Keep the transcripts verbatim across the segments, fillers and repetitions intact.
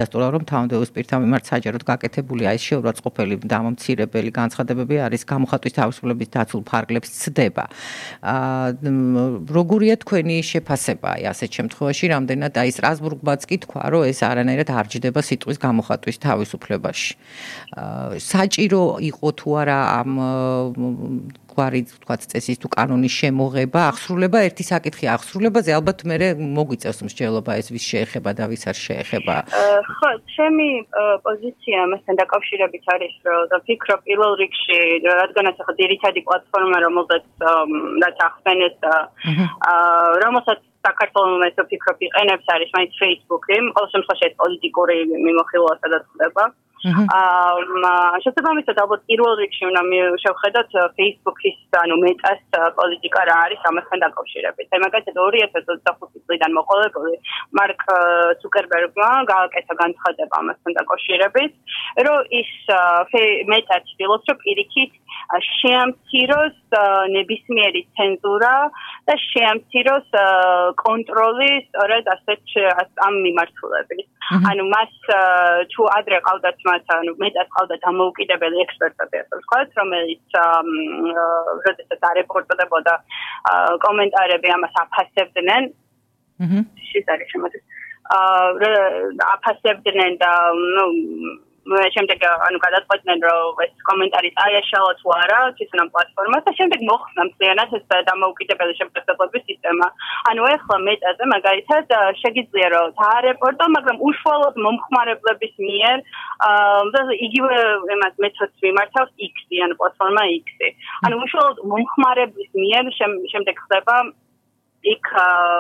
დასტურა რომ თავდეულის პირთა მიმართ საჯაროდ გაკეთებულია ეს შეურაცხყოფელი დამამცირებელი განცხადებები არის გამოხატვის თავისუფლების დაცულ ფარგლებს ცდება. Როგორია თქვენი შეფასება აი ასეთ შემთხვევაში, რამდენად აი სტრასბურგმაც კი თქვა, რომ ეს არანაირად არ ჯდება სიტყვის გამოხატვის თავისუფლებაში. საჭირო იყო თუ არა ამ გვარი თქვათ წესის თუ კანონის შემოღება, აღსრულება ერთი საკითხი აღსრულებაზე, ალბათ მე მოგვიწევს მსჯელობა ეს ვის შეეხება და ვის არ შეეხება. ხო, ჩემი პოზიცია მასთან დაკავშირებით არის, რომ ვფიქრობ პირველ რიგში, რადგანაც ახლა ძირითადი პლატფორმა, რომელზეც რაც ახსენეთ, რომელსაც საქართველოს ეს ვფიქრობ იყენებს არის მაინც Facebook-ი, ყოველ შემთხვევაში ეს პოლიტიკური მიმოხილვა სადაც ხდება. შესაბამისად ალბათ პირველ რიგში უნდა შევხედოთ Facebook-ის ანუ მეტას პოლიტიკა რა არის ამასთან დაკავშირებით. აი მაგალითად ორი ათას ოცდახუთი წლიდან მოყოლებული მარკ ცუკერბერგმა გააკეთა განცხადება ამასთან დაკავშირებით, რომ ის მეტა ცდილობს, რომ პირიქით შეამციროს ნებისმიერი ცენზურა და შეამციროს კონტროლი სწორედ ასეთ ამ მიმართულებით. ანუ მას თუ ადრე ყავდათ მათ ანუ მეტად ყავდა დამოუკიდებელი ექსპერტები ასე ვთქვათ, რომელიც როდესაც არეპორტდებოდა კომენტარები ამას აფასებდნენ. აჰა. შენ არის შემოდის. აფასებდნენ და ნუ შემდეგ ანუ გადაწყვეტდნენ რომ ეს კომენტარი წაიაშალა თუ არა თვითონ ამ პლატფორმას და შემდეგ მოხსნა მთლიანად ეს დამოუკიდებელი შემოწმების სისტემა. ანუ ახლა მეტაზე მაგალითად შეგიძლია რომ დაარეპორტო, მაგრამ უშუალოდ მომხმარებლების მიერ იგივე იმას მეთოდს მიმართავს X-ი, ანუ პლატფორმა X-ი. ანუ უშუალოდ მომხმარებლის მიერ შემდეგ ხდება იქ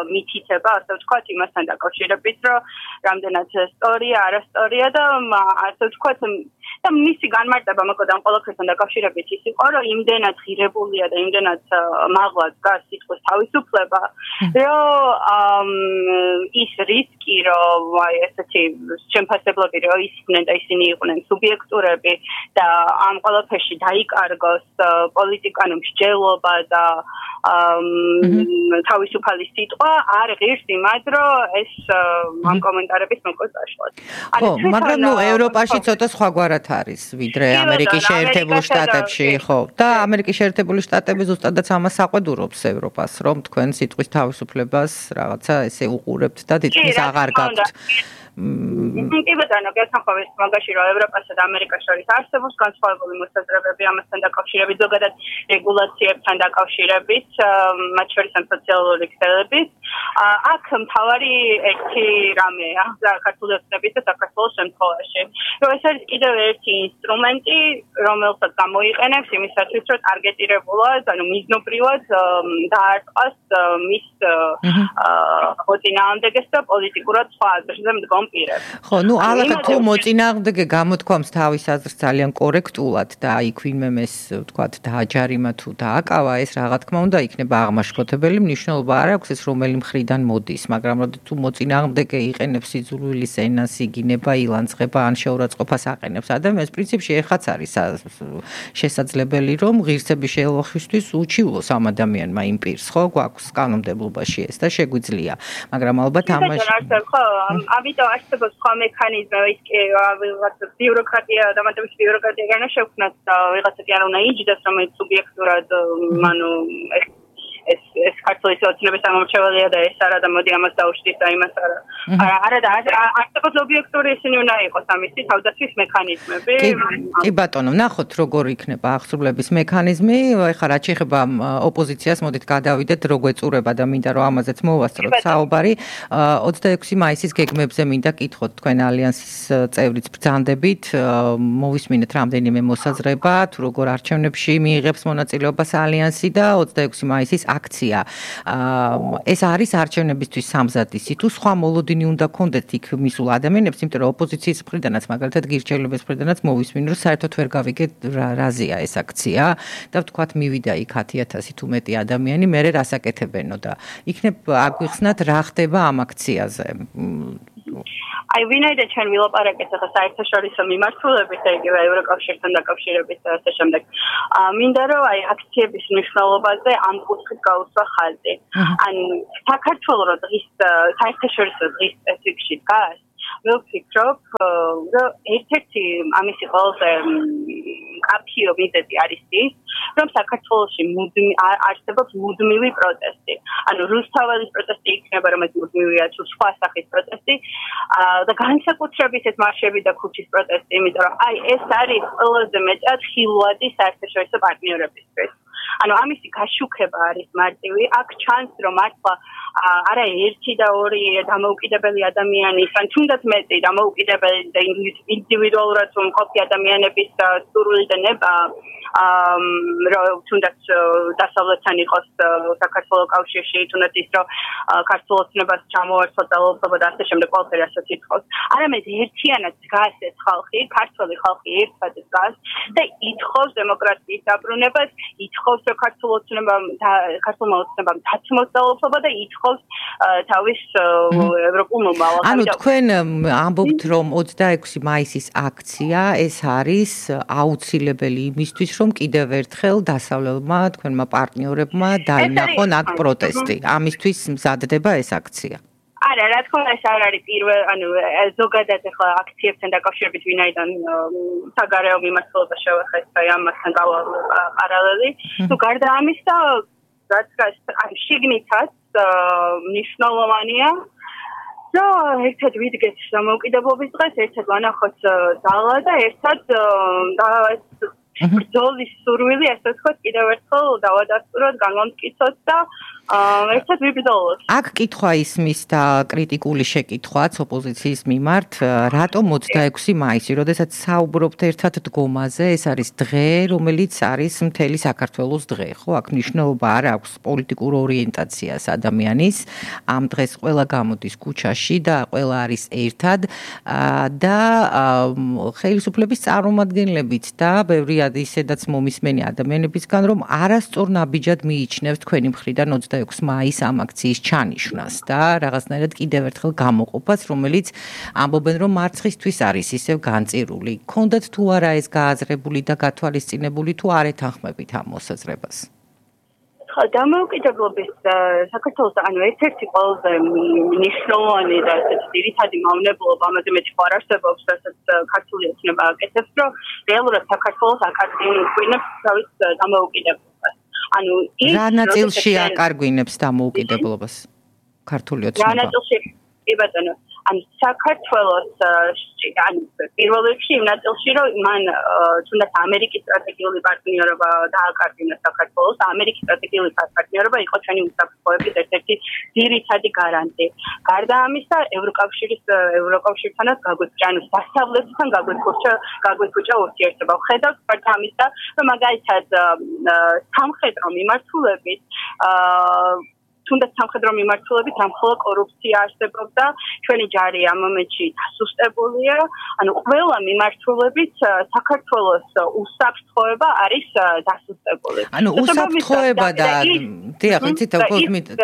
მითითება, ასე ვთქვათ, იმასთან დაკავშირებით, რომ რამდენად სწორია, არასწორია და ასე ვთქვათ, და მისი განმარტება მოკლედ ამ ყველაფერთან დაკავშირებით ის იყო, რომ იმდენად ღირებულია და იმდენად მაღლა დგას სიტყვის თავისუფლება, რომ ის რისკი, რომ აი ესეთი შემფასებლები რომ ისხდნენ და ისინი იყვნენ სუბიექტურები და ამ ყველაფერში დაიკარგოს პოლიტიკანო მსჯელობა და თავისუფალი სიტყვა არ ღირს იმად, რომ ეს ამ კომენტარების მოკლედ დაშლათ. ხო, მაგრამ ნუ ევროპაში ცოტა სხვაგვარად არის, ვიდრე ამერიკის შეერთებულ შტატებში, ხო. და ამერიკის შეერთებული შტატები ზუსტადაც ამას აყვედურობს ევროპას, რომ თქვენ სიტყვის თავისუფლებას რაღაცა ესე უყურებთ და თითქმის აღარ გაქვთ. კი ბატონო, გასახავეს მაგაში რომ ევროპასა და ამერიკას შორის არსებობს განსხვავებული მოსაზრებები ამასთან დაკავშირებით, ზოგადად რეგულაციებთან დაკავშირებით, მათ შორის ამ სოციალური ქსელებით. აქ მთავარი ერთი რამეა საქართველოსების და საქართველოს შემთხვევაში, რომ ეს არის კიდევ ერთი ინსტრუმენტი, რომელსაც გამოიყენებს იმისათვის, რომ ტარგეტირებულად, ანუ მიზნობრივად დაარტყას მის მოწინააღმდეგეს და პოლიტიკურად სხვა აზრზე მდგომ პირებს. ხო, ნუ ალაგ თუ მოწინააღმდეგე გამოთქვამს თავის აზრს ძალიან კორექტულად და აი ვინმემ ეს ვთქვათ დააჯარიმა თუ დააკავა, ეს რა თქმა უნდა იქნება აღმაშფოთებელი, მნიშვნელობა არ აქვს ეს რომელი მხრიდან მოდის, მაგრამ როდი თუ მოწინააღმდეგე იყენებს სიძულვილის ენას, იგინება, ილანძღება ან შეურაცხყოფას აყენებს ადამიანს, პრინციპში ეხაც არის შესაძლებელი, რომ ღირსების შეელვახისთვის უჩივლოს ამ ადამიანმა იმ პირს, ხო, გვაქვს კანონმდებლობაში ეს და შეგვიძლია, მაგრამ ალბათ ამაში ხო, ამიტომ არსებობს სხვა მექანიზმი, ის კი ვიღაცა ბიუროკრატია, დამატებით ბიუროკრატია განა შევქმნათ და ვიღაცა კი არ უნდა იჯდეს, რომელიც სუბიექტურად, ანუ ეს ეს ქართლის ოცნების ამომრჩეველია და ეს არა და მოდი ამას დაუშვით და იმას არა. არა და არსებობს ობიექტური ისინი უნდა იყოს ამისი თავდაცვის მექანიზმები. კი ბატონო, ნახოთ როგორ იქნება აღსრულების მექანიზმი. ეხლა რაც შეეხება ოპოზიციას, მოდით გადავიდეთ რო გვეწურება და მინდა რომ ამაზეც მოვასწროთ საუბარი. ოცდაექვსი მაისის გეგმებზე მინდა კითხოთ თქვენ ალიანსის წევრიც ბრძანდებით, მოვისმინეთ რამდენიმე მოსაზრება, თუ როგორ არჩევნებში მიიღებს მონაწილეობას ალიანსი და ოცდაექვსი მაისის აქცია. ეს არის არჩევნებისთვის სამზადისი თუ სხვა მოლოდინი უნდა კონდეთ იქ მისულ ადამიანებს, იმიტომ რომ ოპოზიციის მხრიდანაც მაგალითად გირჩევლების მხრიდანაც მოვისმინე, რომ საერთოდ ვერ გავიგეთ რაზეა ეს აქცია და ვთქვათ მივიდა იქ ათი ათასი თუ მეტი ადამიანი, მე რას აკეთებენო და იქნებ აგვიხსნათ რა ხდება ამ აქციაზე. აი ვინაიდან ჩვენ ვილაპარაკეთ ახლა საერთაშორისო მიმართულებით და იგივე ევროკავშირთან დაკავშირებით და ასე შემდეგ. მინდა რომ აი აქციების მნიშვნელობაზე ამ კუთხით გაუსვა ხაზი. ან საქართველოს დღის საერთაშორისო დღის სპეციფიკში დგას მე ვფიქრობ, რომ ერთ-ერთი ამისი ყველაზე კაფიო მიზეზი არის ის, რომ საქართველოში არსებობს მუდმივი პროტესტი. ანუ რუსთაველის პროტესტი იქნება, რომ ეს მუდმივია, თუ სხვა სახის პროტესტი და განსაკუთრებით ეს მარშები და ქუჩის პროტესტი, იმიტომ რომ აი ეს არის ყველაზე მეტად ხილვადი საერთაშორისო პარტნიორებისთვის. ანუ ამისი გაშუქება არის მარტივი. აქ ჩანს, რომ მართლა არა ერთი და ორი დამოუკიდებელი ადამიანის, ან თუნდაც მეტი დამოუკიდებელი და ინდივიდუალურად მყოფი ადამიანების სურვილი და ნება რომ თუნდაც დასავლეთთან იყოს საქართველოს კავშირში, თუნდაც ის რომ ქართულ ოცნებას ჩამოართვა და ლოცობა და ასე შემდეგ ყველაფერი ასეც ითხოვს. არამედ ერთიანად დგას ეს ხალხი, ქართველი ხალხი ერთად დგას და ითხოვს დემოკრატიის დაბრუნებას, ითხოვს რომ ქართულ ოცნებამ ქართულმა ოცნებამ დაცმოს და ლოცობა და ითხოვს თავის ევროპულ მომავალს. ანუ თქვენ ამბობთ რომ ოცდაექვსი მაისის აქცია ეს არის აუცილებელი იმისთვის რომ კიდევ ერთხელ დასავლელმა თქვენმა პარტნიორებმა დაინახონ აქ პროტესტი. ამისთვის მზადდება ეს აქცია. არა, რა თქმა უნდა, ეს არ არის პირველ, ანუ ზოგადად ახლა აქციებთან დაკავშირებით ვინაიდან საგარეო მიმართულება შევეხეთ, აი ამასთან გავალ პარალელი. თუ გარდა ამისა, რაც აი შიგნითაც მნიშვნელოვანია და ერთად ვიდგეთ დამოუკიდებლობის დღეს, ერთად ვანახოთ ძალა და ერთად და ეს ბრძოლის სურვილი, ასე ვთქვათ, კიდევ ერთხელ დავადასტუროთ, განვამტკიცოთ და ერთად ვიბრძოლოთ. აქ კითხვა ისმის და კრიტიკული შეკითხვაც ოპოზიციის მიმართ, რატომ ოცდაექვსი მაისი, როდესაც საუბრობთ ერთად დგომაზე, ეს არის დღე, რომელიც არის მთელი საქართველოს დღე, ხო? აქ მნიშვნელობა არ აქვს პოლიტიკურ ორიენტაციას ადამიანის. ამ დღეს ყველა გამოდის ქუჩაში და ყველა არის ერთად და ხელისუფლების წარმომადგენლებიც და ბევრი ისედაც მომისმენი ადამიანებისგან, რომ არასწორ ნაბიჯად მიიჩნევს თქვენი მხრიდან ოცდაექვსი მაისის ამ აქციის ჩანიშვნას და რაღაცნაირად კიდევ ერთხელ გამოყოფას, რომელიც ამბობენ, რომ მარცხისთვის არის ისევ განწირული. გქონდათ თუ არა ეს გააზრებული და გათვალისწინებული, თუ არ ეთანხმებით ამ მოსაზრებას? ხო, დამოუკიდებლობის საქართველოს ანუ ერთ-ერთი ყველაზე მნიშვნელოვანი და ძირითადი მავნებლობა, ამაზე მეტი არ არსებობს, რასაც ქართული ოცნება აკეთებს, რომ რეალურად საქართველოს აკარგვინებს თავის დამოუკიდებლობას. ანუ ის რა ნაწილში აკარგვინებს დამოუკიდებლობას ქართული ოცნება? რა ნაწილში? კი ბატონო. ანუ საქართველოს ანუ პირველ რიგში იმ ნაწილში, რომ მან თუნდაც ამერიკის სტრატეგიული პარტნიორობა დააკარგინა საქართველოს, ამერიკის სტრატეგიული პარტნიორობა იყო ჩვენი უსაფრთხოების ერთ-ერთი ძირითადი გარანტი. გარდა ამისა, ევროკავშირის ევროკავშირთანაც გაგვექცა, ანუ დასავლეთთან გაგვექცა, გაგვექცა ურთიერთობა. ხედავთ გარდა ამისა, რომ მაგალითად სამხედრო მიმართულებით თუნდაც სამხედრო მიმართულებით რამხელა კორუფცია არსებობდა, ჩვენი ჯარი ამ მომენტში დასუსტებულია, ანუ ყველა მიმართულებით საქართველოს უსაფრთხოება არის დასუსტებული. ანუ უსაფრთხოება და დიახ, იცით,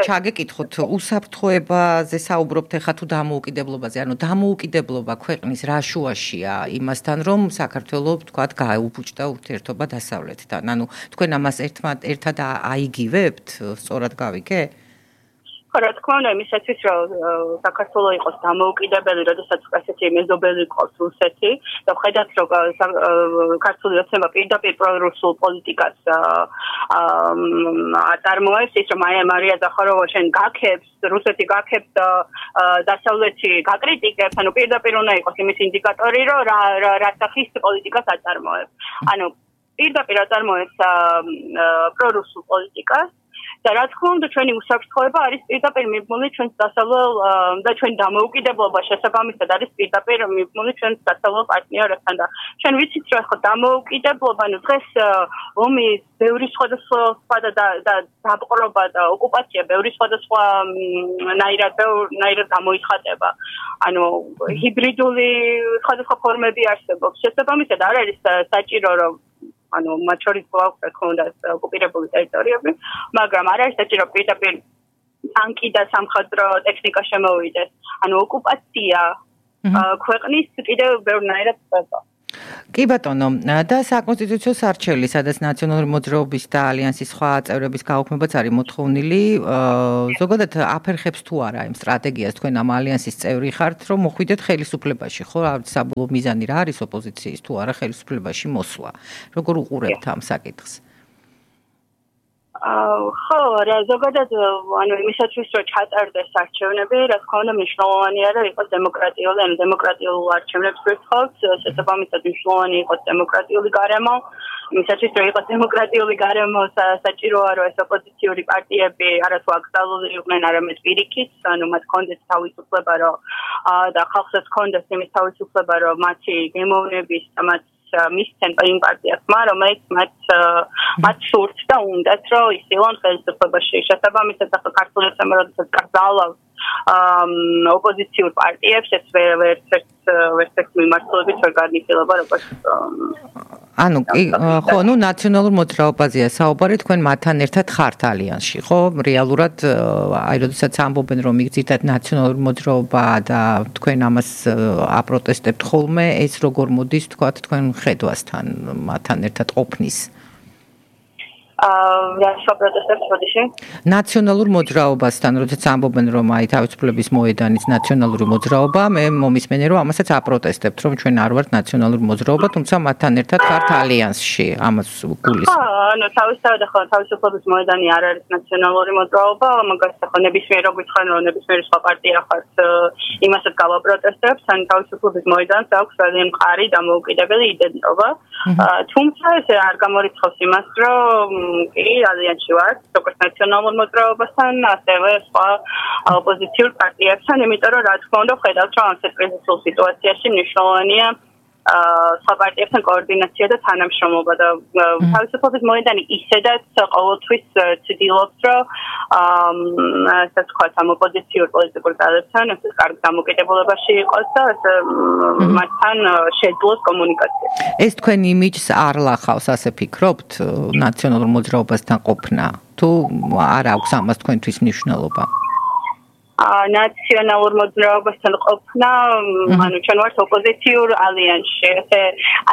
ჩაგეკითხოთ, უსაფრთხოებაზე საუბრობთ ახლა თუ დამოუკიდებლობაზე, ანუ დამოუკიდებლობა ქვეყნის რა შუაშია იმასთან, რომ საქართველოს თქვათ გაეუფუჭდა ურთიერთობა დასავლეთთან. ანუ თქვენ ამას ერთად აიგივებთ, სწორად გავიგე? რა თქმა უნდა, იმისათვის რომ საქართველოს იყოს დამოუკიდებელი, როდესაც ესეთი მეზობელი ყავს რუსეთი და ხედავთ რომ ქართული ოცნება პირდაპირ პრორუსულ პოლიტიკას აწარმოებს, ის რომ მარია ზახაროვა შენ გაქებს, რუსეთი გაქებს და დასავლეთი გაკრიტიკებს, ანუ პირდაპირ უნდა იყოს იმის ინდიკატორი, რომ რა სახის პოლიტიკას აწარმოებს. ანუ პირდაპირ აწარმოებს პრორუსულ პოლიტიკას და რა თქმა უნდა ჩვენი უსაფრთხოება არის პირდაპირ მიბმული ჩვენს დასავლელ და ჩვენი დამოუკიდებლობა შესაბამისად არის პირდაპირ მიბმული ჩვენს დასავლელ პარტნიორებთან და ჩვენ ვიცით რომ ხო დამოუკიდებლობა ნუ დღეს ომი ბევრი სხვადასხვა და დაპყრობა და ოკუპაცია ბევრი სხვადასხვა ნაირად ნაირად გამოიხატება ანუ ჰიბრიდული სხვადასხვა ფორმები არსებობს შესაბამისად არ არის საჭირო რომ ანუ მათ შორის გვაქვს ქონდას ოკუპირებული ტერიტორიები, მაგრამ არ არის საჭირო პირდაპირ ტანკი და სამხედრო ტექნიკა შემოვიდეს. ანუ ოკუპაცია ქვეყნის კიდევ ბევრნაირად ხდება. კი ბატონო, და საკონსტიტუციო სარჩელი, სადაც ნაციონალური მოძრაობის და ალიანსის სხვა წევრების გაუქმებაც არის მოთხოვნილი, ზოგადად აფერხებს თუ არა იმ სტრატეგიას თქვენ ამ ალიანსის წევრი ხართ, რომ მოხვიდეთ ხელისუფლებაში, ხო, საბოლოო მიზანი რა არის ოპოზიციის თუ არა ხელისუფლებაში მოსვლა. როგორ უყურებთ ამ საკითხს? ხო, რა ზოგადად ანუ იმისათვის რომ ჩატარდეს არჩევნები, რა თქმა უნდა მნიშვნელოვანია რომ იყოს დემოკრატიული, ანუ დემოკრატიულ არჩევნებს ვერცხავთ, შესაბამისად მნიშვნელოვანი იყოს დემოკრატიული გარემო, იმისათვის რომ იყოს დემოკრატიული გარემო, საჭიროა რომ ეს ოპოზიციური პარტიები არათუ აკრძალული იყვნენ, არამედ პირიქით, ანუ მათ ჰქონდეს თავისუფლება, რომ და ხალხსაც ჰქონდეს იმის თავისუფლება, რომ მათი გემოვნების და მათ მისცენ იმ პარტიასმა, რომელიც მათ მათ სურთ და უნდათ, რომ ისილონ ხელისუფლებაში. შესაბამისად, ახლა ქართული ოცნება, როდესაც კრძალავს ოპოზიციურ პარტიებს, ეს ვერცერთ ვერცერთ მიმართულებით ვერ განიხილება, როგორც ანუ ხო, ნუ ნაციონალურ მოძრაობაზეა საუბარი, თქვენ მათთან ერთად ხართ ალიანსში, ხო? რეალურად აი როდესაც ამბობენ, რომ იგზითად ნაციონალური მოძრაობა და თქვენ ამას აპროტესტებთ ხოლმე, ეს როგორ მოდის, თქვათ, თქვენ ხედვასთან მათთან ერთად ყოფნის? რა საპროტესტებს მოდიში? ნაციონალურ მოძრაობასთან, როდესაც ამბობენ, რომ აი თავისუფლების მოედანის ნაციონალური მოძრაობა, მე მომისმენია, რომ ამასაც აპროტესტებთ, რომ ჩვენ არ ვართ ნაციონალური მოძრაობა, თუმცა მათთან ერთად ხართ ალიანსში, ამას გულისხმობ. ხო, ანუ თავისთავად ახლა თავისუფლების მოედანი არ არის ნაციონალური მოძრაობა, მაგას ახლა ნებისმიერ რო გითხრან, რომ ნებისმიერი სხვა პარტია ხართ, იმასაც გავაპროტესტებთ, ან თავისუფლების მოედანს აქვს ძალიან მყარი დამოუკიდებელი იდენტობა. თუმცა ეს არ გამორიცხავს იმას, რომ კი, ალიანსში ვართ, როგორც ნაციონალურ მოძრაობასთან, ასევე სხვა ოპოზიციურ პარტიებთან, იმიტომ რომ რა თქმა უნდა ხედავთ, რომ ამ კრიზისულ სიტუაციაში მნიშვნელოვანია სხვა პარტიებთან კოორდინაცია და თანამშრომლობა და თავისუფლების მოედანი ისედაც ყოველთვის ცდილობს, რომ ასე ვთქვათ, ამ ოპოზიციურ პოლიტიკურ ძალებთან ეს კარგ დამოკიდებულებაში იყოს და მათთან შეძლოს კომუნიკაცია. ეს თქვენ იმიჯს არ ლახავს, ასე ფიქრობთ, ნაციონალურ მოძრაობასთან ყოფნა? თუ არ აქვს ამას თქვენთვის მნიშვნელობა? ნაციონალურ მოძრაობასთან ყოფნა, ანუ ჩვენ ვართ ოპოზიციურ ალიანსში. ესე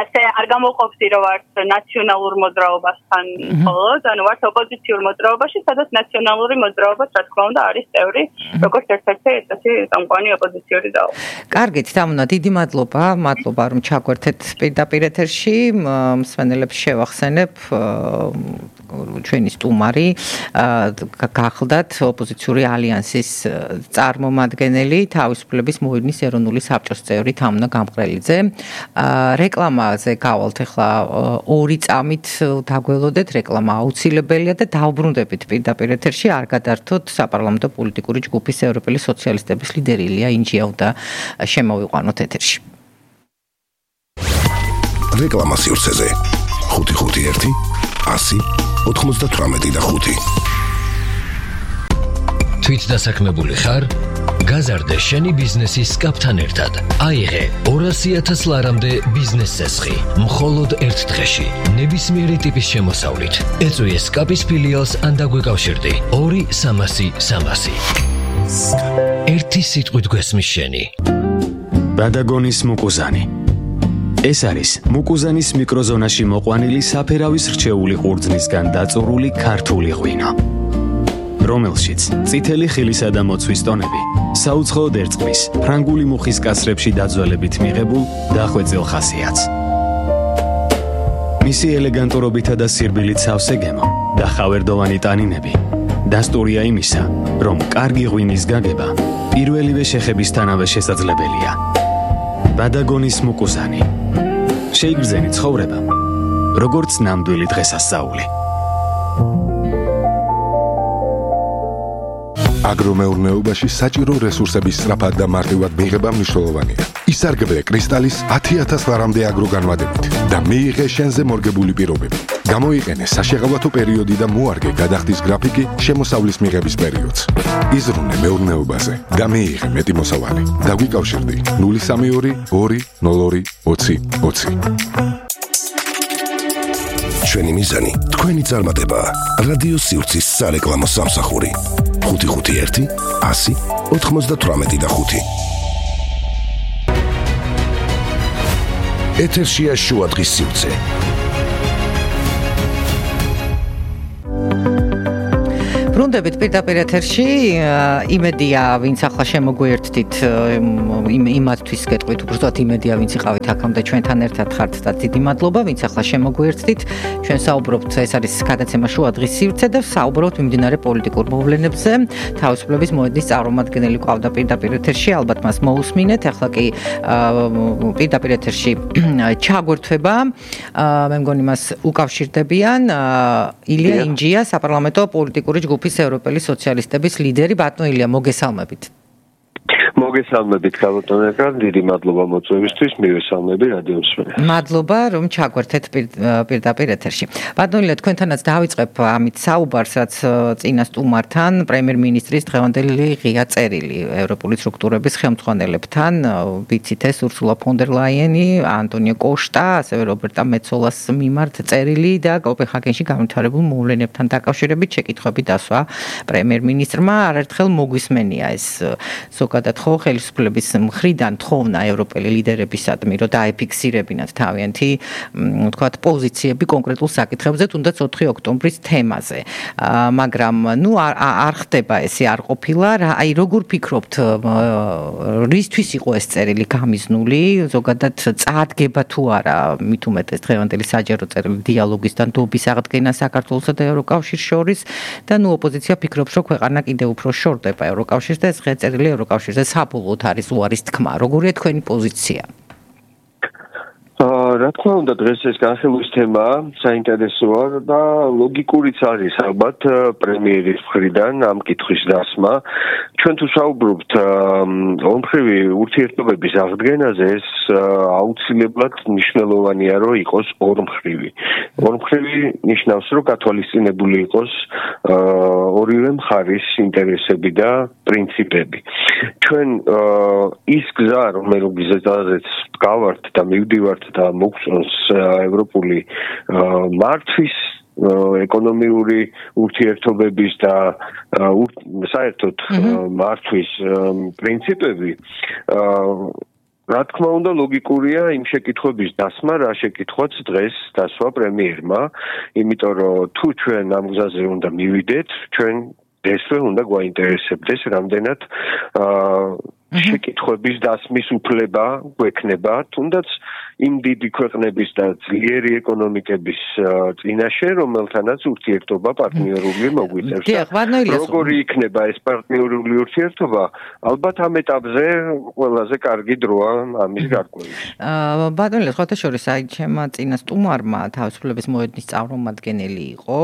ასე არ გამოყოფდი, რომ ვართ ნაციონალურ მოძრაობასთან მხოლოდ, ანუ ვართ ოპოზიციურ მოძრაობაში, სადაც ნაციონალური მოძრაობა, რა თქმა უნდა, არის წევრი, როგორც ერთ-ერთი ესეთი წამყვანი ოპოზიციური ძალა. კარგით, დამონა, დიდი მადლობა, მადლობა რომ ჩაგვერთეთ პირდაპირ ეთერში, მსმენელებს შევახსენებ ჩვენი სტუმარი გახლდათ ოპოზიციური ალიანსის წარმომადგენელი თავისუფლების მოედნის ეროვნული საბჭოს წევრი თამნა გამყრელიძე. რეკლამაზე გავალთ ახლა ორი წამით დაგველოდეთ, რეკლამა აუცილებელია და დავბრუნდებით პირდაპირ ეთერში, არ გადართოთ საპარლამენტო პოლიტიკური ჯგუფის ევროპელი სოციალისტების ლიდერი ილია ინჯიაუ და შემოვიყვანოთ ეთერში. რეკლამა სივრცეზე ხუთი ხუთი ერთი ასი ოთხმოცდათვრამეტი და ხუთი. თვით დასაქმებული ხარ? გაზარდე შენი ბიზნესის სკაპთან ერთად. აიღე ორასი ათას ლარამდე ბიზნეს წესხი. მხოლოდ ერთ დღეში. ნებისმიერი ტიპის შემოსავლით. ეწვიე სკაპის ფილიალს ან დაგვეკავშირდი. ორი სამასი სამასი. ერთი სიტყვით გვესმის შენი. ბადაგონის მუკუზანი. ეს არის მუკუზანის მიკროზონაში მოყვანილი საფერავის რჩეული ყურძნისგან დაწურული ქართული ღვინო, რომელშიც წითელი ხილისა და მოცვის ტონები საუცხოოდ ერწყმის ფრანგული მუხის კასრებში დაძველებით მიღებულ დახვეწილ ხასიათს. მისი ელეგანტურობითა და სირბილით სავსე გემო და ხავერდოვანი ტანინები დასტურია იმისა, რომ კარგი ღვინის გაგება პირველივე შეხებისთანავე შესაძლებელია. ბადაგონის მუკუზანი. შეიგრძენი ცხოვრება, როგორც ნამდვილი დღესასწაული. აგრომეურნეობაში საჭირო რესურსების სწრაფად და მარტივად მიღება მნიშვნელოვანია. ისარგებლე კრისტალის ათი ათას ლარამდე აგროგანვადებით და მიიღე შენზე მორგებული პირობები. გამოიყენე საშეღავათო პერიოდი და მოარგე გადახდის გრაფიკი შემოსავლის მიღების პერიოდს. იზრუნე მეურნეობაზე და მიიღე მეტი მოსავალი. დაგვიკავშირდი ნული სამი ორი ორი ნულ ორი ოცი ოცი. ჩვენი მიზანი თქვენი წარმატებაა. რადიო სივრცის სარეკლამო სამსახური. ხუთი ხუთი ერთი ასი ოთხმოცდათვრამეტი და ხუთი. ეთერშია შუადღის სივრცე. ბრუნდებით პირდაპირ ეთერში, იმედია, ვინც ახლა შემოგვიერთდით, იმათთვის გეტყვით, უბრალოდ იმედია, ვინც იყავით აქამდე ჩვენთან ერთად ხართ და დიდი მადლობა, ვინც ახლა შემოგვიერთდით. ჩვენ საუბრობთ, ეს არის გადაცემა შუადღის სივრცე და საუბრობთ მიმდინარე პოლიტიკურ მოვლენებზე. თავისუფლების მოედნის წარმომადგენელი ყავდა პირდაპირ ეთერში, ალბათ მას მოусმინეთ. ახლა კი პირდაპირ ეთერში ჩაგვერთვება. მე მგონი მას უკავშირდებიან ილია ინჯია, საპარლამენტო პოლიტიკური ჯგუფის ევროპელი სოციალისტების ლიდერი. ბატონო ილია, მოგესალმებით. მოგესალმებით ქალბატონებო, დიდი მადლობა მოწვევისთვის, მივესალმები რადიო მსმენელს. მადლობა, რომ ჩაგვერთეთ პირდაპირ ეთერში. ბატონო ილია, თქვენთანაც დავიწყებ ამით საუბარს, რაც წინა სტუმართან, პრემიერ-მინისტრის დღევანდელი ღია წერილი ევროპული სტრუქტურების ხელმძღვანელებთან, ვიცით ეს ურსულა ფონ დერ ლაიენი, ანტონიო კოშტა, ასევე რობერტა მეცოლას მიმართ წერილი და კოპენჰაგენში განვითარებულ მოვლენებთან დაკავშირებით შეკითხვები დასვა პრემიერ-მინისტრმა. არაერთხელ მოგვისმენია ეს ზოგადად ხო ხელისუფლების მხრიდან თხოვნა ევროპელი ლიდერებისადმი, რომ დაეფიქსირებინათ თავიანთი, ვთქვათ, პოზიციები კონკრეტულ საკითხებზე, თუნდაც ოთხი ოქტომბრის თემაზე. მაგრამ ნუ არ ხდება ესე, არ ყოფილა. აი, როგორ ფიქრობთ, რისთვის იყო ეს წერილი გამიზნული? ზოგადად წარდგება თუ არა, მით უმეტეს დღევანდელი საჯარო წერილი დიალოგის და ნდობის აღდგენა საქართველოსა და ევროკავშირს შორის და ნუ ოპოზიცია ფიქრობს, რომ ქვეყანა კიდევ უფრო შორდება ევროკავშირს და ეს ღია წერილი ევროკავშირზე საბოლოოდ არის უარის თქმა. როგორია თქვენი პოზიცია? რა თქმა უნდა, დღეს ეს განხილვის თემა საინტერესოა და ლოგიკურიც არის ალბათ პრემიერის მხრიდან ამ კითხვის დასმა. ჩვენ თუ საუბრობთ ორმხრივი ურთიერთობების აღდგენაზე, ეს აუცილებლად მნიშვნელოვანია, რომ იყოს ორმხრივი. ორმხრივი ნიშნავს, რომ გათვალისწინებული იყოს ორივე მხარის ინტერესები და პრინციპები. ჩვენ ის გზა, რომელზეც გავართ და მივდივართ და მოგწონს ევროპული მართვის ეკონომიური ურთიერთობების და საერთოდ მართვის პრინციპები, რა თქმა უნდა ლოგიკურია იმ შეკითხვების დასმა, რა შეკითხვაც დღეს დასვა პრემიერმა, იმიტომ რომ თუ ჩვენ ამ გზაზე უნდა მივიდეთ, ჩვენ ესვე უნდა გვაინტერესებდეს რამდენად შეკითხვების დასმის უფლება გვექნება, თუნდაც იმ დიდი ქვეყნების და ძლიერი ეკონომიკების წინაშე, რომელთანაც ურთიერთობა პარტნიორული მოგვიწევს. როგორი იქნება ეს პარტნიორული ურთიერთობა? ალბათ ამ ეტაპზე ყველაზე კარგი დროა ამის გარკვევის. ბატონო ილია, სხვათა შორის, აი ჩემმა წინა სტუმარმა თავისუფლების მოედნის წარმომადგენელი იყო,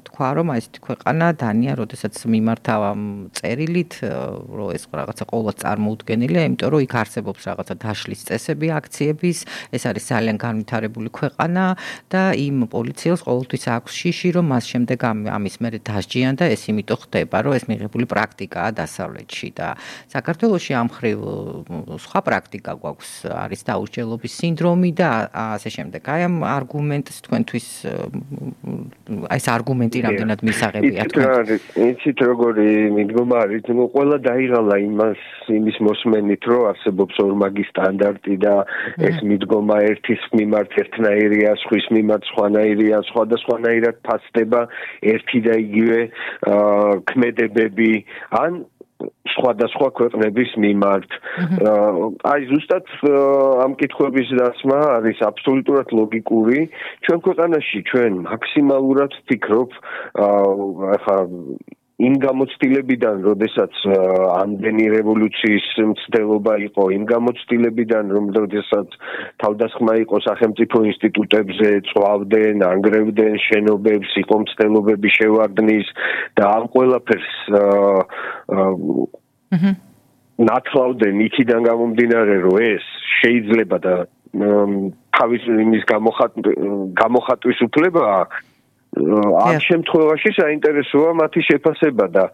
თქვა, რომ აი ესეთი ქვეყანა დანია, როდესაც მიმართავ ამ წერილით, რომ ეს რაღაცა ყოველთვის წარმოუდგენელია, იმიტომ რომ იქ არსებობს რაღაცა დაშლის წესები აქციების, ეს არის ძალიან განვითარებული ქვეყანა და იმ პოლიციელს ყოველთვის აქვს შიში, რომ მას შემდეგ ამის მერე დასჯიან და ეს იმიტომ ხდება, რომ ეს მიღებული პრაქტიკაა დასავლეთში და საქართველოში ამ მხრივ სხვა პრაქტიკა გვაქვს, არის დაუსჯელობის სინდრომი და ასე შემდეგ. აი ამ არგუმენტს თქვენთვის აი ეს არგუმენტი რამდენად მისაღებია თქვენ? იცით როგორი მიდგომა არის, ნუ ყველა დაიღალა იმას იმის მოსმენით, რომ არსებობს ორმაგი სტანდარტი და ეს მიდგომა ერთის მიმართ ერთნაირია, სხვის მიმართ სხვანაირია, სხვადასხვანაირად ფასდება ერთი და იგივე ქმედებები, ან სხვადასხვა ქვეყნების მიმართ. აი ზუსტად ამ კითხვების დასმა არის აბსოლუტურად ლოგიკური. ჩვენ ქვეყანაში ჩვენ მაქსიმალურად ვფიქრობ, ახლა იმ გამოცდილებიდან, როდესაც ამდენი რევოლუციის მცდელობა იყო, იმ გამოცდილებიდან, როდესაც თავდასხმა იყო სახელმწიფო ინსტიტუტებზე, წვავდნენ, ანგრევდნენ შენობებს, იყო მცდელობები შევარდნის და ამ ყველაფერს ნათლავდნენ იქიდან გამომდინარე, რომ ეს შეიძლება და თავის იმის გამოხატვის უფლება ამ შემთხვევაში საინტერესოა მათი შეფასება და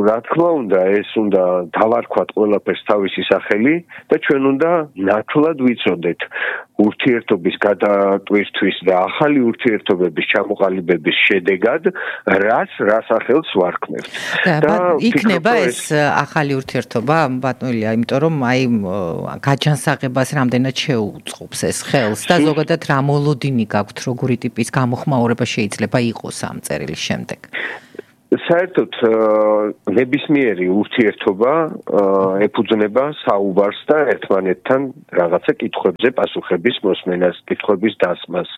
რა თქმა უნდა ეს უნდა დავარქვათ ყველაფერს თავისი სახელი და ჩვენ უნდა ნათლად ვიცოდეთ ურთიერთობის გადატვირთვის და ახალი ურთიერთობების ჩამოყალიბების შედეგად რას რა სახელს ვარქმევთ და იქნება ეს ახალი ურთიერთობა ბატონია იმიტომ რომ აი გაჯანსაღებას რამდენად შეუწყობს ეს ხელს და ზოგადად რა მოლოდინი გაქვთ როგორი ტიპის გამოხმაურება შეიძლება იყოს ამ წერილის შემდეგ საერთოდ ნებისმიერი ურთიერთობა ეფუძნება საუბარს და ერთმანეთთან რაღაცა კითხვებზე პასუხების მოსმენას, კითხვების დასმას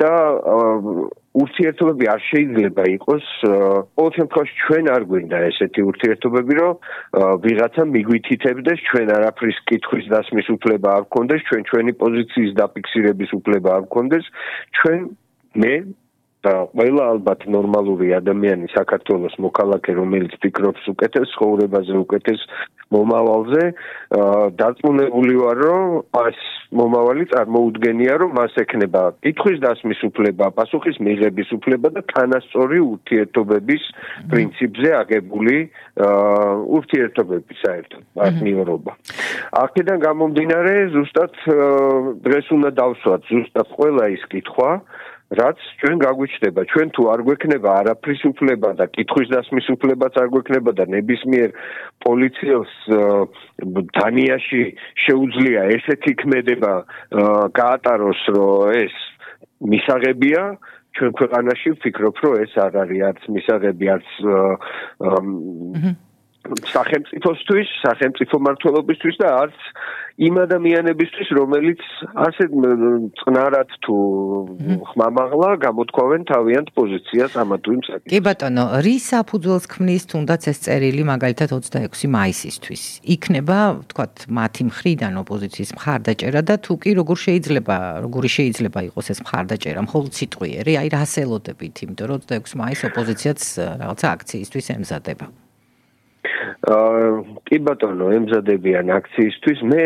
და ურთიერთობები არ შეიძლება იყოს ყოველ შემთხვევაში ჩვენ არ გვინდა ესეთი ურთიერთობები რომ ვიღაცა მიგვითითებდეს ჩვენ არაფრის კითხვის დასმის უფლება არ გქონდეს ჩვენ ჩვენი პოზიციის დაფიქსირების უფლება არ გქონდეს ჩვენ მე და ყველა ალბათ ნორმალური ადამიანი საქართველოს მოქალაქე რომელიც ფიქრობს უკეთეს ცხოვრებაზე უკეთეს მომავალზე დარწმუნებული ვარ რომ ეს მომავალი წარმოუდგენია რომ მას ექნება კითხვის დასმის უფლება პასუხის მიღების უფლება და თანასწორი ურთიერთობების პრინციპზე აგებული ურთიერთობები საერთოდ პარტნიორობა აქედან გამომდინარე ზუსტად დღეს უნდა დავსვათ ზუსტად ყველა ის კითხვა რაც ჩვენ გაგვიჩნდება ჩვენ თუ არ გვექნება არაფრის უფლება და კითხვის დასმის უფლებაც არ გვექნება და ნებისმიერ პოლიციელს დანიაში შეუძლია ესეთი ქმედება გაატაროს რომ ეს მისაღებია ჩვენ ქვეყანაში ვფიქრობ რომ ეს არ არის არც მისაღები არც სახელმწიფოსთვის, სახელმწიფო მმართველობისთვის და არც იმ ადამიანებისთვის, რომელიც ასე წნარად თუ ხმამაღლა გამოთქვავენ თავიანთ პოზიციას ამა თუ იმ საკითხში. კი ბატონო, რის საფუძველს ქმნის თუნდაც ეს წერილი მაგალითად ოცდაექვსი მაისისთვის? იქნება, ვთქვათ, მათი მხრიდან ოპოზიციის მხარდაჭერა და თუ კი როგორ შეიძლება, როგორი შეიძლება იყოს ეს მხარდაჭერა, მხოლოდ სიტყვიერი, აი რას ელოდებით, იმიტომ რომ ოცდაექვსი მაისს ოპოზიციაც რაღაცა აქციისთვის ემზადება. კი ბატონო, ემზადებიან აქციისთვის. მე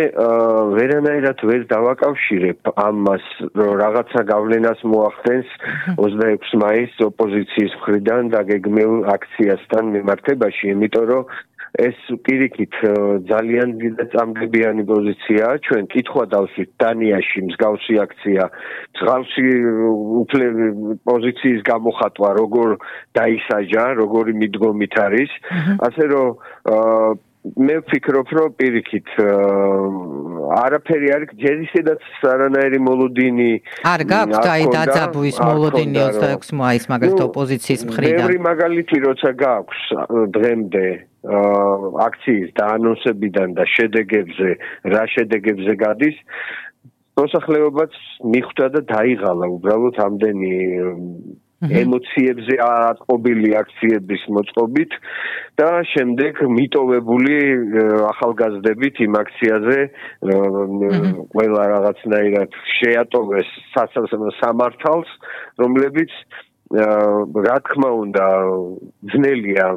ვერანაირად ვერ დავაკავშირებ ამას, რომ რაღაცა გავლენას მოახდენს ოცდაექვსი მაისს ოპოზიციის მხრიდან დაგეგმილ აქციასთან მიმართებაში, იმიტომ რომ ეს პირიქით ძალიან წამგებიანი პოზიციაა. ჩვენ კითხვა დავსვით დანიაში მსგავსი აქცია, მსგავსი პოზიციის გამოხატვა, როგორ დაისაჯა, როგორი მიდგომით არის. ასე რომ მე ვფიქრობ, რომ პირიქით არაფერი არის, ჯერ ისედაც არანაირი მოლოდინი არ გაქვთ აი დაძაბვის მოლოდინი ოცდაექვსი მაისს მაგალითად ოპოზიციის მხრიდან. ბევრი მაგალითი როცა გაქვს დღემდე აქციის დაანონსებიდან და შედეგებზე, რა შედეგებზე გადის, მოსახლეობაც მიხვდა და დაიღალა უბრალოდ ამდენი ემოციებზე აწყობილი აქციების მოწყობით და შემდეგ მიტოვებული ახალგაზრდებით იმ აქციაზე ყველა რაღაცნაირად შეატოვეს სამართალს, რომლებიც რა თქმა უნდა ძნელია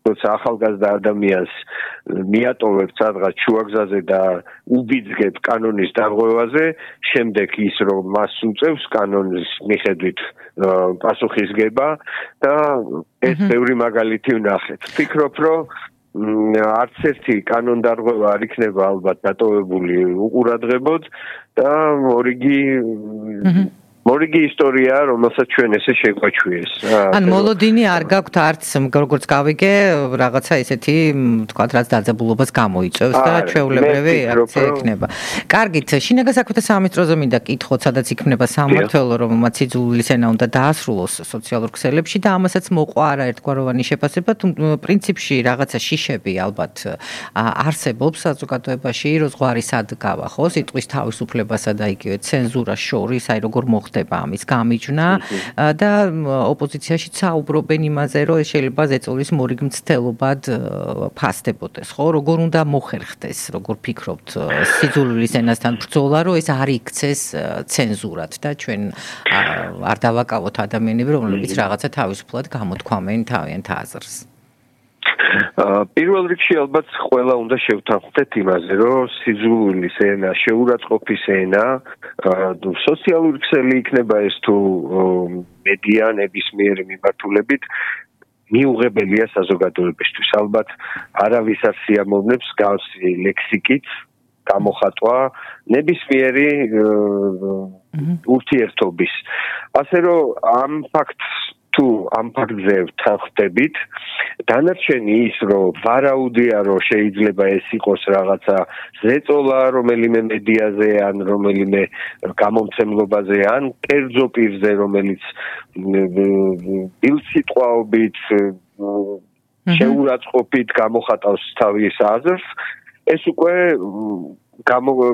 როცა ახალგაზრდა ადამიანს მიატოვებ სადღაც შუაგზაზე და უბიძგებ კანონის დარღვევაზე, შემდეგ ის რომ მას უწევს კანონის მიხედვით პასუხისგება და ეს ბევრი მაგალითი ვნახეთ. ვფიქრობ, რომ არც ერთი კანონდარღვევა არ იქნება ალბათ დატოვებული უყურადღებოდ და მორიგი მორიგი ისტორია, რომელსაც ჩვენ ესე შეგვაჩვიეს. ან მოლოდინი არ გაქვთ არც როგორც გავიგე, რაღაცა ესეთი, თქვათ, რაც დაძაბულობას გამოიწვევს და ჩვეულებრივი აქცია იქნება. კარგით, შინაგან საქმეთა სამინისტროზე მინდა კითხოთ, სადაც იქნება სამმართველო, რომელმაც იძულის ენა უნდა დაასრულოს სოციალურ ქსელებში და ამასაც მოყვა არაერთგვაროვანი შეფასება, თუ პრინციპში რაღაცა შიშები ალბათ არსებობს საზოგადოებაში, რომ ზღვარი სად გავა, ხო, სიტყვის თავისუფლებასა და იგივე ცენზურას შორის, აი როგორ მოხდა ამის გამიჯვნა და ოპოზიციაში საუბრობენ იმაზე, რომ შეიძლება ზეწოლის მორიგ მცდელობად ფასდებოდეს, ხო? როგორ უნდა მოხერხდეს, როგორ ფიქრობთ სიძულვილის ენასთან ბრძოლა, რომ ეს არ იქცეს ცენზურად და ჩვენ არ დავაკავოთ ადამიანები, რომლებიც რაღაცა თავისუფლად გამოთქვამენ თავიანთ აზრს. პირველ რიგში ალბათ ყველა უნდა შევთანხმდეთ იმაზე, რომ სიძულვილის ენა, შეურაცხყოფის ენა, სოციალური ქსელი იქნება ეს თუ მედია ნებისმიერი მიმართულებით მიუღებელია საზოგადოებისთვის. ალბათ არავის არ სიამოვნებს გავსი ლექსიკით გამოხატვა ნებისმიერი ურთიერთობის. ასე რომ ამ ფაქტს თუ ამ ფაქტზე თანხმდებით, დანარჩენი ის, რომ ვარაუდია, რომ შეიძლება ეს იყოს რაღაცა ზეწოლა რომელიმე მედიაზე ან რომელიმე გამომცემლობაზე ან კერძო პირზე, რომელიც ბილსიტყვაობით შეურაცხყოფით გამოხატავს თავის აზრს, ეს უკვე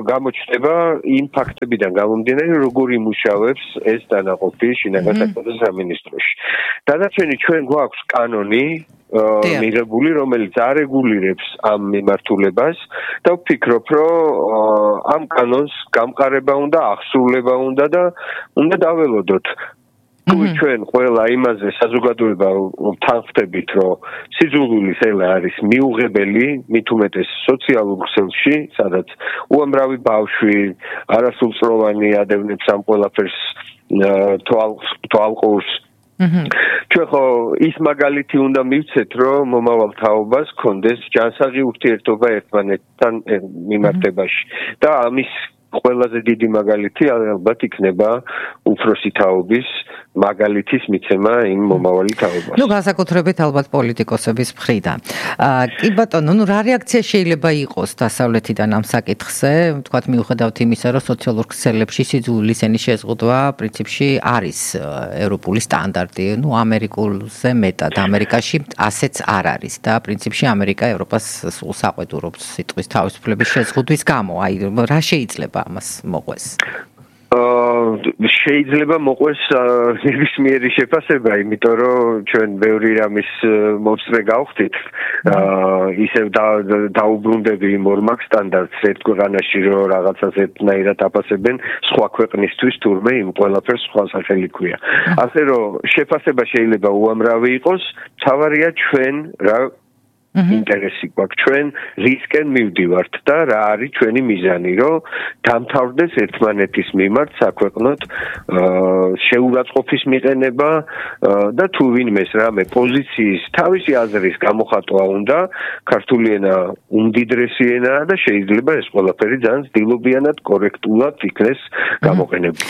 გამოჩნდება იმ ფაქტებიდან გამომდინარე, როგორ იმუშავებს ეს დანაყოფი შინაგან საქმეთა სამინისტროში. დანარჩენი ჩვენ გვაქვს კანონი მიღებული, რომელიც არეგულირებს ამ მიმართულებას და ვფიქრობ, რომ ამ კანონს გამყარება უნდა, აღსრულება უნდა და უნდა დაველოდოთ. თუ ჩვენ ყველა იმაზე საზოგადოება თანხმდებით, რომ სიძულვილის ენა არის მიუღებელი, მით უმეტეს სოციალურ ქსელში, სადაც უამრავი ბავშვი არასრულწლოვანი ადევნებს ამ ყველაფერს თვალყურს. ჩვენ ხო ის მაგალითი უნდა მივცეთ, რომ მომავალ თაობას ჰქონდეს ჯანსაღი ურთიერთობა ერთმანეთთან მიმართებაში და ამის ყველაზე დიდი მაგალითი ალბათ იქნება უფროსი თაობის მაგალითის მიცემა იმ მომავალი თაობას. ნუ განსაკუთრებით ალბათ პოლიტიკოსების მხრიდან. კი ბატონო, ნუ რა რეაქცია შეიძლება იყოს დასავლეთიდან ამ საკითხზე? ვთქვათ, მიუხედავთ იმისა, რომ სოციალურ ქსელებში სიძულვილის ენის შეზღუდვა პრინციპში არის ევროპული სტანდარტი, ნუ ამერიკულზე მეტად, ამერიკაში ასეც არ არის და პრინციპში ამერიკა ევროპას სულ საყვედურობს სიტყვის თავისუფლების შეზღუდვის გამო. აი, რა შეიძლება ამას მოყვეს? შეიძლება მოყვეს ნებისმიერი შეფასება, იმიტომ რომ ჩვენ ბევრი რამის მომსწრე გავხდით, ისევ დაუბრუნდები იმ ორმაგ სტანდარტს ერთ ქვეყანაში, რომ რაღაცას ერთნაირად აფასებენ სხვა ქვეყნისთვის, თურმე იმ ყველაფერს სხვა სახელი ქვია. ასე რომ შეფასება შეიძლება უამრავი იყოს, თავარია ჩვენ რა ინტერესი გვაქვს, ჩვენ რისკენ მივდივართ და რა არის ჩვენი მიზანი, რომ დამთავრდეს ერთმანეთის მიმართ საქვეყნოდ შეურაცხყოფის მიყენება და თუ ვინმეს რამე პოზიციის თავისი აზრის გამოხატვა უნდა, ქართული ენა უმდიდრესი ენაა და შეიძლება ეს ყველაფერი ძალიან ცდილობიანად კორექტულად იქნეს გამოყენებული.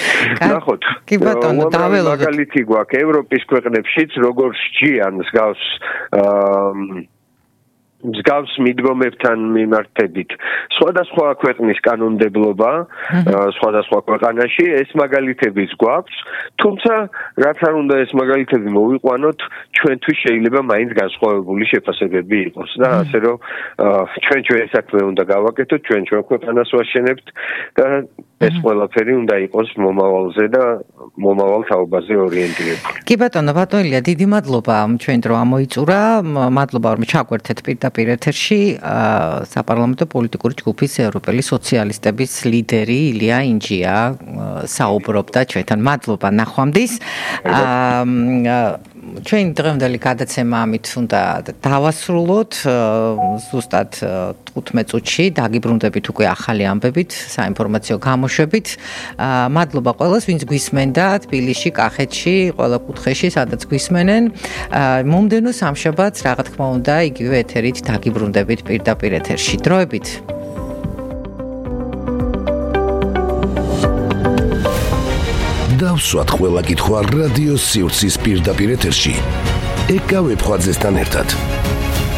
ნახოთ, კი ბატონო, დაველოდოთ. მაგალითი გვაქვს ევროპის ქვეყნებშიც, როგორ სჯიან მსგავს მსგავს მიდგომებთან მიმართებით. სხვადასხვა ქვეყნის კანონმდებლობა, სხვადასხვა ქვეყანაში ეს მაგალითებიც გვაქვს, თუმცა რაც არ უნდა ეს მაგალითები მოვიყვანოთ, ჩვენთვის შეიძლება მაინც განსხვავებული შეფასებები იყოს და ასე რომ ჩვენ ჩვენ საქმე უნდა გავაკეთოთ, ჩვენ ჩვენ ქვეყანას ვაშენებთ და ეს ყველაფერი უნდა იყოს მომავალზე და მომავალ თაობაზე ორიენტირებული. კი ბატონო, ბატონია, დიდი მადლობა ჩვენ დრო ამოიწურა, მადლობა რომ ჩაგვერთეთ პირდაპირ ეთერში საპარლამენტო პოლიტიკური ჯგუფის ევროპელი სოციალისტების ლიდერი ილია ინჯია საუბრობდა ჩვენთან. მადლობა ნახვამდის. ჩვენ დღევანდელი გადაცემა ამით უნდა დავასრულოთ. ზუსტად თხუთმეტ წუთში დაგიბრუნდებით უკვე ახალი ამბებით, საინფორმაციო გამოშვებით. მადლობა ყველას, ვინც გვისმენდა თბილისში, კახეთში, ყველა კუთხეში, სადაც გვისმენენ. მომდევნო სამშაბათს, რა თქმა უნდა, იგივე ეთერით დაგიბრუნდებით პირდაპირ ეთერში. დროებით. დავსვათ ყველა კითხვა რადიო სივრცის პირდაპირ ეთერში. ეკავებ ხვაძესთან ერთად.